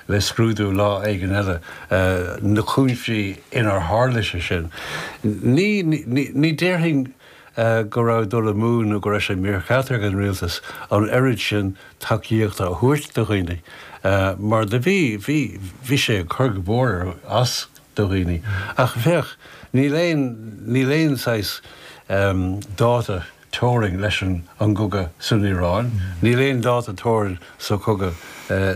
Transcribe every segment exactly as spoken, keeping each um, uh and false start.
le scrúdú lá éigin eile na cúinsí inar tharla sé sin. Ní, ní, ní déarfainn go raibh dul amú nó go raibh sé mícheart ag an rialtas an oiread sin tacaíochta a thabhairt do dhaoine, mar do bhí, bhí, bhí sé ag cur go mór as do dhaoine. Ach féach, níl aon, níl aon saghas dáta teorainn leis an an gcogadh san Iaráin, níl aon dáta teorainn sa chogadh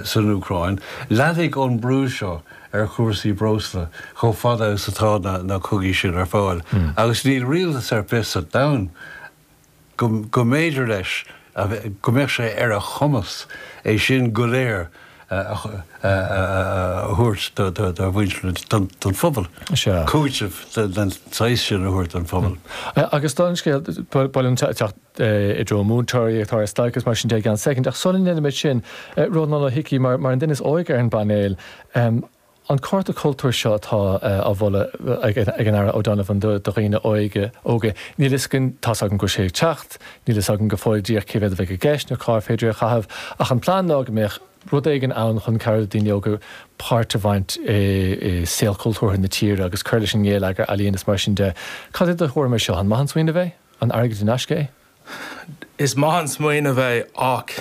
san Úcráin. Leanfaidh an brú seo ar chúrsaí breosla chomh fada is atá na, na cogaí sin ar fáil. Agus níl rialtas ar bith sa domhan go, go mb'fhéidir leis, go mbeadh sé ar a chumas é sin go léir a thabhairt do mhuintir don phobal. Cúiteamh den saghas sin a thabhairt don phobal. Agus don scéal bail teacht i dtreo múinteoirí atá ar stailc agus mar sin de i gceann soicind, ach sula ndéanaimid sin, Rónán Ó hIcí, mar an duine is óige ar an bpainéal, an cárta cultúir seo atá á mholadh ag an Aire O'Donovan do dhaoine óige, óga, níl fhios againn, tá's agam go bhfuil sé ag teacht, níl fhios agam go fóill díreach cé mhéad a bheidh i gceist nó cár féidir é a chaitheamh, ach an plean ná go mbeadh rud éigin ann chun cabhrú le daoine óga páirt a bhaint i saol cultúrtha na tíre agus cur leis an ngeilleagar, ealaíon is mar sin de. Cad é do thuairim ar seo? An maith an smaoineamh é? An airgead in aisce é? Is maith an smaoineamh é ach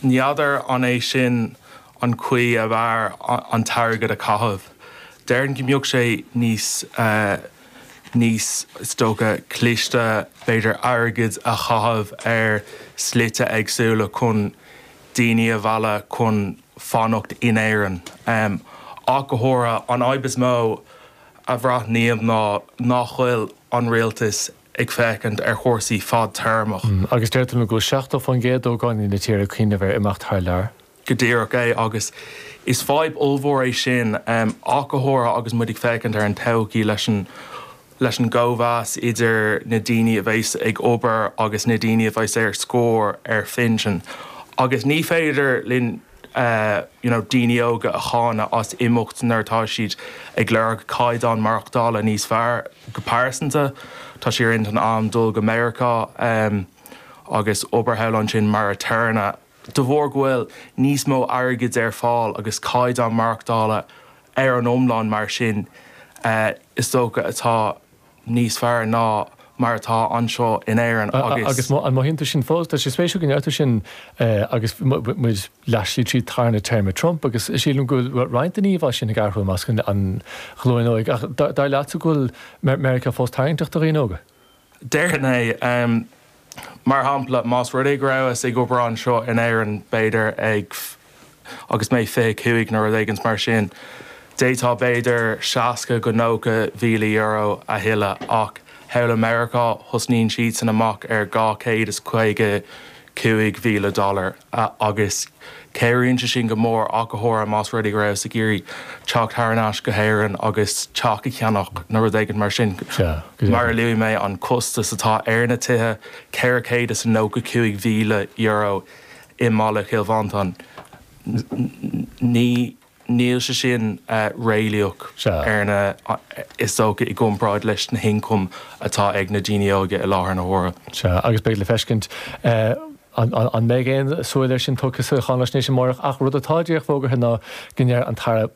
n'fheadar an é sin an chaoi ab fhearr an t-airgead a chaitheamh. Déarfainn go mbeadh sé níos níos is dócha cliste b'fhéidir airgead a chaitheamh ar slite éagsúla chun daoine a mhealladh chun fanacht in Éirinn. Ach go háirithe an fhadhb is mó a bhreathnaím ná nach bhfuil an rialtas ag féachaint ar chúrsaí fadtéarmach. Agus deir tú go bhfuil seachtó faoin gcéad d'ógánaigh na tíre ag cuimhneamh ar imeacht thar lear. Go díreach é agus is fadhb ollmhór é sin ach go háirithe agus muid ag féachaint ar an todhchaí leis an leis an gcóimheas idir na daoine a bheas ag obair agus na daoine a bheas ar scor ar phinsean. Agus ní féidir linn you know daoine óga a cháineadh as imeacht nuair atá siad ag lorg caighdeán maireachtála níos fearr go pearsanta. Tá sé ar intinn agam dul go Meiriceá agus obair thall ansin mar aturnae. De bharr go bhfuil níos mó airgid ar fáil agus caighdeán maireachtála ar an iomlán mar sin is dócha atá níos fearr ná mar atá anseo in Éirinn agus. Agus an mothaíonn tú sin fós? Tá sé spéisiúil go ndeir tú sin agus muid leathshlí trí tarna téarma Trump agus sílim go bhfuil roinnt den íomhá sin ag athrú i measc an ghlúin óig. Ach dar leatsa go bhfuil Meiriceá fós tarraingteach do dhaoine óga? Déarfainn é. Mar shampla, más rud é go rabhas ag obair anseo in Éirinn, b'fhéidir ag agus mé fiche cúig nó rud éigin mar sin, d'fhéadfá b'fhéidir seasca go nócha mhíle euro a thuilleadh ach thall i Meiriceá thosnaíonn siadsan amach ar dhá chéad is caoga cúig mhíle dollar agus cabhraíonn sé sin go mór ach go háirithe más rud é go rabhas ag iarraidh teacht thar n-ais go hÉirinn agus teach a cheannach nó rud éigin mar sin. Mar a luaigh mé, an costas atá ar na tithe, ceithre chéad is nócha cúig mhíle euro i mbaile Chill Mhantáin, ní Níl sé sin réalaíoch ar na, is dócha, i gcomparáid leis na hioncaim atá ag na daoine óga i láthair na huaire. Sea, agus beidh le feiscint an mbeidh aon súil air sin tugtha sa cháinaisnéis amárach ach rud atá díreach fógartha ná go ndeir an tAire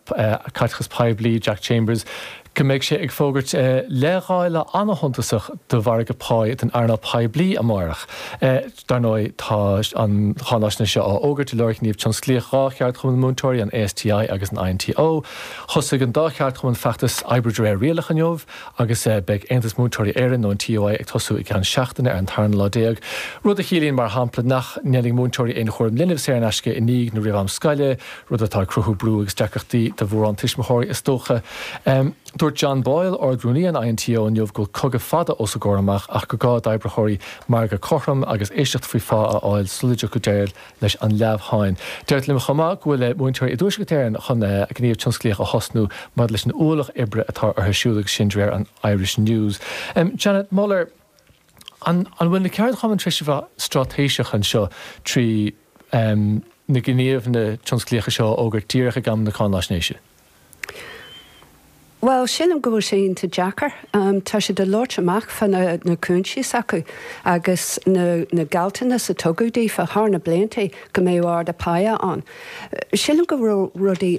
Caiteachais Poiblí, Jack Chambers, go mbeidh sé ag fógairt leithdháileadh an-shuntasach do mhargadh páí don earnáil poiblí amárach. Dar ndóigh, tá an cháinaisnéis seo á fhógairt i lár ghníomh tionsclaíoch dhá cheardchumann múinteoirí, an ASTI agus an INTO. Thosaigh an dá cheardchumann feachtas Oibriú de réir Rialach inniu agus beidh Aontas Múinteoirí Éireann nó an TUI ag tosú i gceann seachtaine ar an tarna lá déag, rud a chiallaíonn, mar shampla, nach ndéanfaidh múinteoirí aon chúram linbh saor in aisce i ndiaidh nó roimh am scoile, rud atá ag cruthú brú agus deacrachtaí do mhórán tuismitheoirí is dócha. Dúirt John Boyle, Ard-Rúnaí an INTO inniu go bhfuil cogadh fada os a gcomhair amach ach gur gá d'oibritheoirí margadh cothrom agus éisteacht faoi phá a fháil sula dtiocfaidh deireadh leis an leamhsháinn. Deirtear liom chomh maith go bhfuil múinteoirí i dTuaisceart Éireann chun gníomh tionsclaíoch a thosnú maidir leis an ualach oibre atá orthu siúd agus sin de réir an Irish News. Janet Muller, An bhfuil na ceardchumainn tar éis a bheith straitéiseach anseo trí na gníomhanna tionsclaíocha seo a fhógairt díreach ag am na cáinaisnéise? Bhuel, sílim go bhfuil sé iontach deacair. Tá siad ag labhairt amach fá na cúinsí s'acu agus na gealltanais a tugadh daofa thar na blianta go mbeadh ardú páighe ann. Sílim go raibh rudaí